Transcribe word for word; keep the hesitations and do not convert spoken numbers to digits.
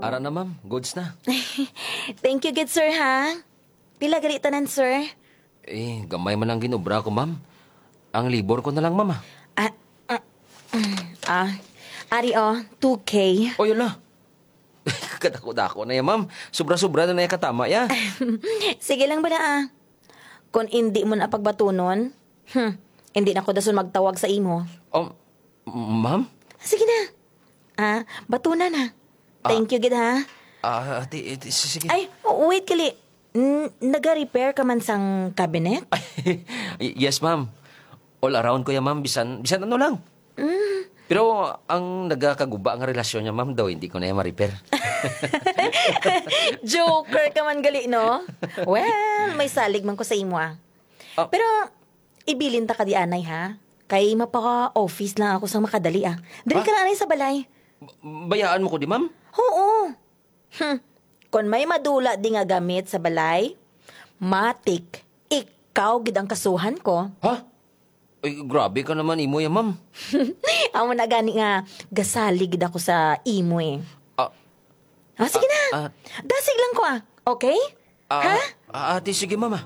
Ara na, ma'am. Goods na. Thank you gid, sir, ha? Pila gali tanan, sir? Eh, gamay man ang ginobra ko, ma'am. Ang labor ko na lang, ma'am, ah. Ah, ah, mm, ah, ari, oh, two K. Oy, ala. Kadako-dako na yan, ma'am. Sobra-sobra na na yan katama, ya. Sige lang bala, ah. Kung hindi mo na pagbatunon, hmm, hindi na ko dason magtawag sa imo. Um, ma'am? Sige na. Ah, batuna na. Ah. Thank you gid, ha? Ah, ati, ati, si-, sige. Ay, wait, kali. N-, naga-repair ka man sang cabinet? Y-, yes, ma'am. All around ko yan, ma'am. Bisan, bisan ano lang. Mm. Pero ang nagakaguba nga relasyon niya, ma'am, daw hindi ko na yan ma-repair. Joker ka man gali, no? Well, may salig man ko sa imo, ah. Ah. Pero, ibilin ta ka di anay, ha? Kay mapa-office lang ako sang makadali, ah. Diri Ha? ka na anay sa balay. B-, bayaan mo ko di, ma'am? Oo. Hmm. Kon may madula di nga gamit sa balay, matik, ikaw gid ang kasuhan ko. Ha? Ay, grabe ka naman, imo ya, ma'am. Amo na gani nga gasalig gid ako sa imo, eh. Ah. Ah, sige na. Ah, ah. Dasig lang ko, ah. Okay? Ah, Ha? ah, ate, sige, ma'am, ah.